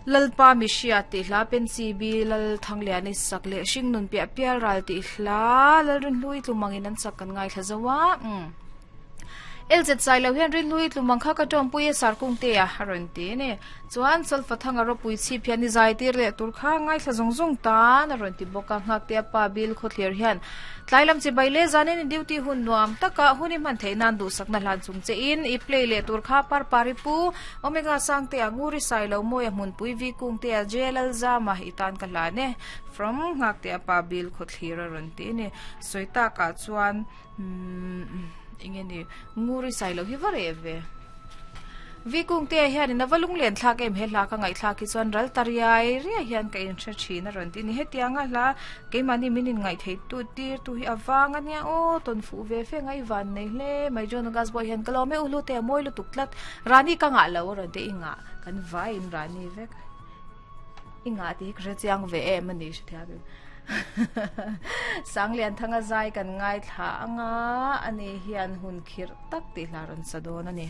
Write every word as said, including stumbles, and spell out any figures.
Lalpa mi hria tih hla Pensi bi Lal Thangliani sak leh hringnun piah pial ral tih hla Lalrinhlui tlumangin an sak kan ngaithla zo a umm L Z Sailo hian Rinhlui tlumang kha ka tawngpui a Sarkung te a a rawn ti a ni. Chuan Solfa-thanga ropui chhip hian i zai tir leh tur kha ngaithla zawng zawng tan a rawn ti bawk a, Nghaktea pa Bill Khawthlir hian tlai lam chibai leh zanin i duty hun nuam taka hun i hman theih nan duhsakna hlan chung che in i play leh tur kha Parpari pu Omega Sangtea Nguri Sailo Mawia Hmunpui Vi Kungtea J Lalzama i tan ka hlan e from Nghaktea pa Bill Khawthlir a rawn ti a ni. Sawi takah chuan umm eng nge ni Nguri Sailo hi va reh ve. Vi Kungtea hianin a va lunglen thlak em he hla ka ngaihthlak hi chuan ral ta riai riai hian ka inhre thin a rawn ti a ni. Hetianga hla keimahni min inngaihtheih tu tir tu hi a vang a nia aw tawn fuh ve fe ngai van nei hle mai John August pawh hian ka lawm e u hlute a mawi lutuk tlat Rani ka ngah lo a rawn ti i ngah kan vaiin Rani vek i ngah tih hi ka hre chiang ve em a ni hrethiam em Sanglianthanga zai kan ngaithla anga ani hian hun khirh tak tih hla rawn sa dawn a ni.